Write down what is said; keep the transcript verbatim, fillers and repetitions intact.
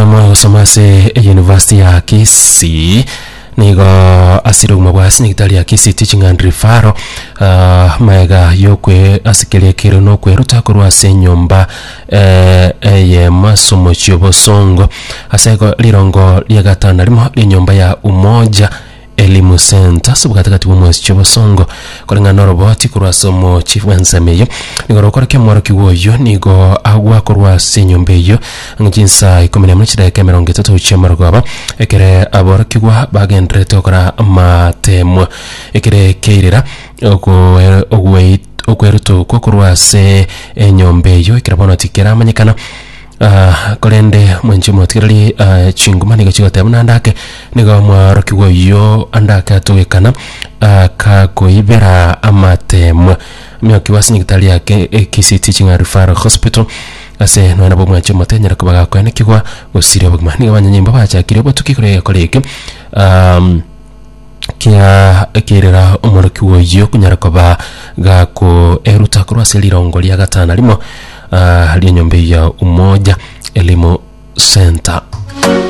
Omworokia ogosoma ase eyunivasiti ya Kisii nigo asire obogima bwa ase nyagetari ya Kisii Teaching and Referral ah, maega yokwe ase keria kere nokweruta korwa ase enyomba eh, eyemo ase omochie obosongo ase igo rirongo ria gatano rimo ria ya Umoja Elimu Center ase obogatagati bwa omochie obosongo koreng'ana na oroboti korwa ase omochie bw'ensemo eyio nigo rokorokia omworokigwa oyio nigo agwa korwa ase enyomba eyio ang'e chinsa ikomi na emo chidakika emerongo etato chia amarogoba ekere aborokigwa bagendererete gokora amatemwa ekere keirera ogo- ogwei okweruta okwo korwa ase enyomba eyio ekero bono tikeramanyekana. Ah, korende mwenche motigereri ah, chinguma nigo chigoteba buna andake nigo omworokigwa oyio andake atogekana akakoibera amatemwa mioki ase nyagetari yake Kisii Teaching and Referral Hospital ase nonya nabo mwanche motenyera koba gakoenekigwa gosiria obogima nigo abanyanyimbo bachakire obotuki korwa egekora eke um, kia ekerera omworokigwa oyio konyara koba gakoeruta korwa ase rirongo ria gatano rimo uh, ria enyomba ya Umoja Elimu Center.